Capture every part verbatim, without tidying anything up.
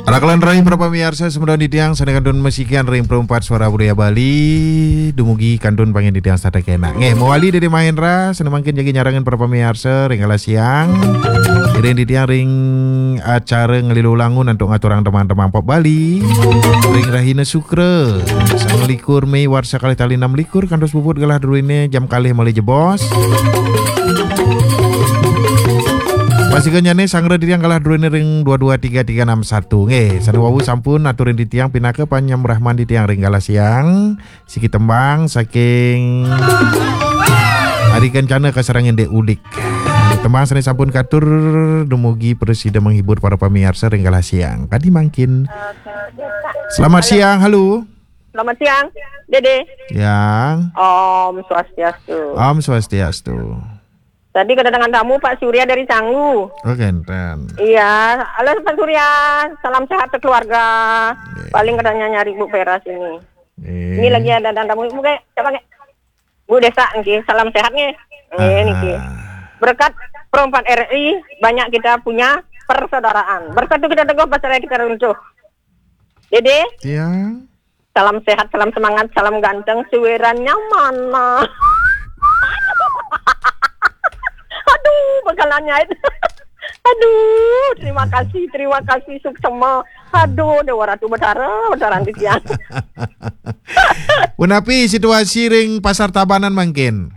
Rakelan rayi para pamiarsa, semeton titiang sané kantun masikian ring Perempat Suara Budaya Bali, dumugi kantun pangin titiang setata kénak. Nggih, mawali Dédé Mahendra, sané mangkin jagi nyarengin para pamiarsa ring galah siang. Ngiring titiang ring acara Ngelilo Langun antuk ngaturang tembang-tembang pop Bali. Ring rahina Sukra, sangalikur Mei warsa kalih tali enam likur, kantos puput galah druéné jam kalih malih jebos. Pasikanyané sanggra titiang galah druéné ring dua dua tiga tiga enam satu. Nggih, sané wau sampun aturin titiang pinaka panyambrahman titiang ring galah siang. Siki tembang saking Adi Kencana kasarengin Dék Udik. Tembang sané sampun katur dumugi prasida menghibur para pamiarsa ring galah siang. Kadi mangkin. Selamat siang, halo. Selamat siang, Dédé. Yang. Om Swastiastu. Om Swastiastu. Tadi kedatangan tamu Pak Surya dari Canggu. Oh, kénten. Iya, halo Pak Surya, salam sehat sekeluarga. Nggih. Paling katanya nyari Bu Vera sini. Nggih. Ini lagi ada tamu, Bu, kayak siapa, kayak? Bu Desa, nggih, salam sehat, nggih. Nggih, niki. Berkat Pro empat R I, banyak kita punya persaudaraan. Bersatu kita teguh, bercerai kita runtuh. Dédé? Iya. Salam sehat, salam semangat, salam ganteng, suérannya mana? Aduh, bakalannya itu. Aduh, terima kasih, terima kasih, suksema. Aduh, Déwa Ratu Betara, Betara titiang. Punapi situasi ring Pasar Tabanan mangkin?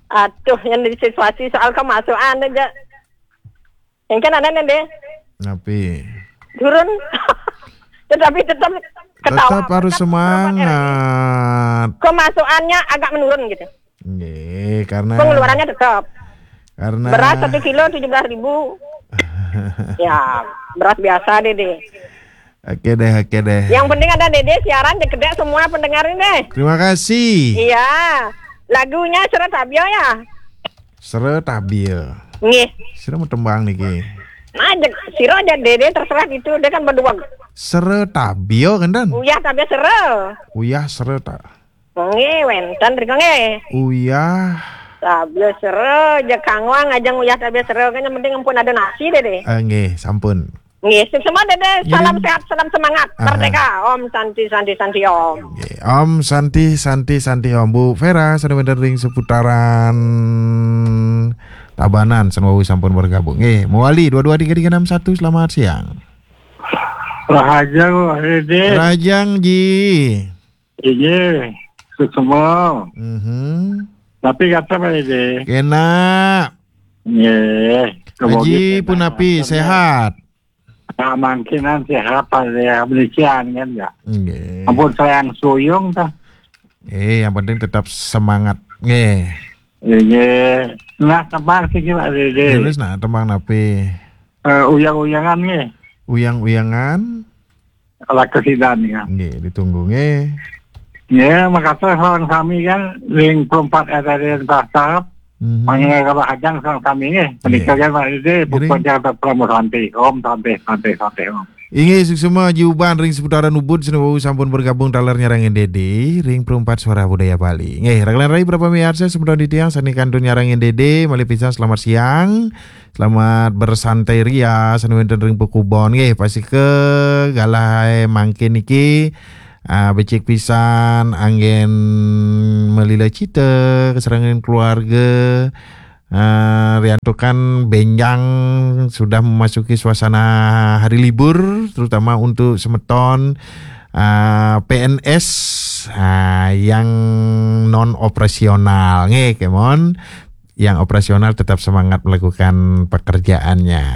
Aduh, yang di situasi soal kemasukan aja. Yang kan ada nih, Dédé. Napi? Turun. Tetapi tetap ketawa. Tetap harus semangat. Kemasukannya agak menurun gitu. Nggih, karena pengeluarannya tetap. Karena beras satu kilo tujuh belas ribu. Ya, beras biasa, Dédé. Oke deh, oke deh. Yang penting ada Dédé siaran, cekidék semua pendengar ini. Terima kasih. Iya. Lagunya Sera Tabia ya? Sera Tabia. Nggih. Sira mau tembang niki. Nah, sira aja Dédé terserah gitu, dia kan berdua. Sera Tabia kan, Dan? Uyah Tabia Sera. Uyah Sera ta. Nggih, wénten rika nggih. Uyah Tabia Sera, aja kangwang aja Uyah Tabia Sera, kan yang penting ampun ada nasi, Dédé. Eh, nggih, sampun. Nggih, suksema, Dédé. Salam sehat, salam semangat. Aha. Merdeka. Om Santi, Santi, Santi, Om. Nggih, Om Santi, Santi, Santi, Om. Bu Vera, sané wénten ring seputaran Tabanan, sané wau sampun bergabung. Nggih, mawali dua dua tiga tiga enam satu, selamat siang. Rahajeng, Dédé. Rahajeng, Ji. Inggih, suksema. Mhm. Tapi kata Pak Dédé. Kénak. Nggih. Haji punapi, sehat? Nah, mangkin sehat, Pak Dédé. Demikian kan ya. Nggih. Ampun sayang suyung tah. Eh, yang penting tetap semangat. Nggih. Nggih. Nah, tembang siki, Pak Dédé. Terus nah, tembang napi? Eh, uyang-uyangan nggih. Uyang-uyangan. Ala kesidan ya. Nggih, ditunggu nggih. Ya, makasih sareng sami kan ring Pro empat R R I Pasar. Mhm. Mangga rahajeng sareng sami nggih. Nggih. Punika kan Pak Dédé, nggih. Puput Jakarta Pramo Santi. Om Santi, Santi, Santi, Om. Inggih, suksema Ji Uban ring seputaran Ubud, sané wau sampun bergabung taler nyarengin Dédé ring Pro empat Suara Budaya Bali. Nggih, rakelan rayi para pamiarsa, semeton titiang sané kantun nyarengin Dédé, malih pisan selamat siang. Selamat bersantai ria, sané wénten ring pakubon. Nggih, pastika galah mangkin niki, ah, becik pisan anggén malila cita, kasarengin keluarga. Ah, riantukan bénjang sudah memasuki suasana hari libur, terutama untuk semeton, ah, P N S, ah, yang non operasional. Nggih, kémon. Yang operasional tetap semangat melakukan pekerjaannya.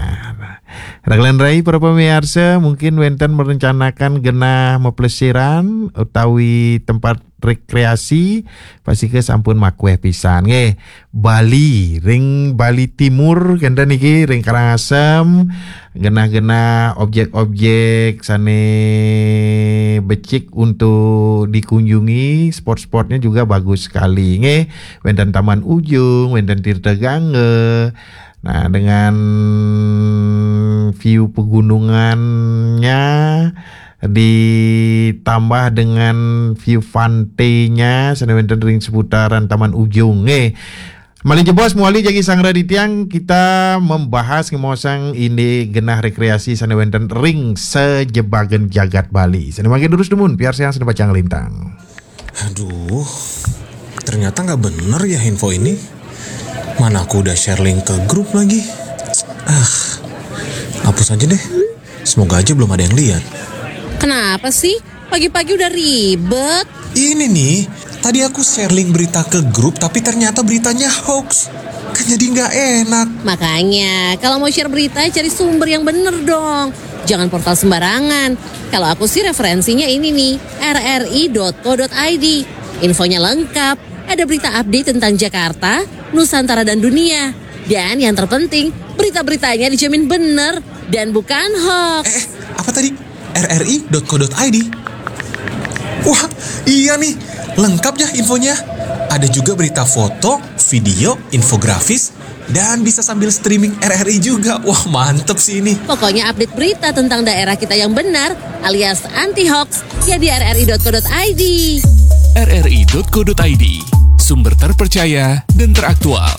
Rakelan rayi para pamiarsa, mungkin wénten merencanakan genah maplesiran utawi tempat rekreasi, pastika sampun makuéh pisan nggih. Bali, ring Bali Timur, kénten niki, ring Karangasem, genah-genah objek-objek sané becik untuk dikunjungi, spot-spotnya juga bagus sekali nggih. Wénten Taman Ujung, wénten Tirta Gangga. Nah, dengan view pegunungannya ditambah dengan view pantainya, sané wénten ring seputaran Taman Ujung nggih. Malih jebos, muali jagi sang Raditya, kita membahas ngemaosang indik genah rekreasi sane wenten ring sajebagen jagat Bali. Sane mangkin durus dumun, piarsayang sane pacang lintang. Aduh, ternyata nggak bener ya info ini. Mana aku udah share link ke grup lagi. Ah, hapus aja deh. Semoga aja belum ada yang lihat. Kenapa sih? Pagi-pagi udah ribet. Ini nih, tadi aku share link berita ke grup, tapi ternyata beritanya hoax. Kan jadi nggak enak. Makanya, kalau mau share berita, cari sumber yang bener dong. Jangan portal sembarangan. Kalau aku sih referensinya ini nih, rri.co.id. Infonya lengkap, ada berita update tentang Jakarta, Nusantara dan dunia. Dan yang terpenting, berita-beritanya dijamin bener dan bukan hoax. Eh, apa tadi? rri.co.id. Wah, iya nih, lengkap ya infonya. Ada juga berita foto, video, infografis, dan bisa sambil streaming RRI juga. Wah, mantep sih ini. Pokoknya update berita tentang daerah kita yang benar alias anti hoax ya di rri.co.id. rri.co.id, sumber terpercaya dan teraktual.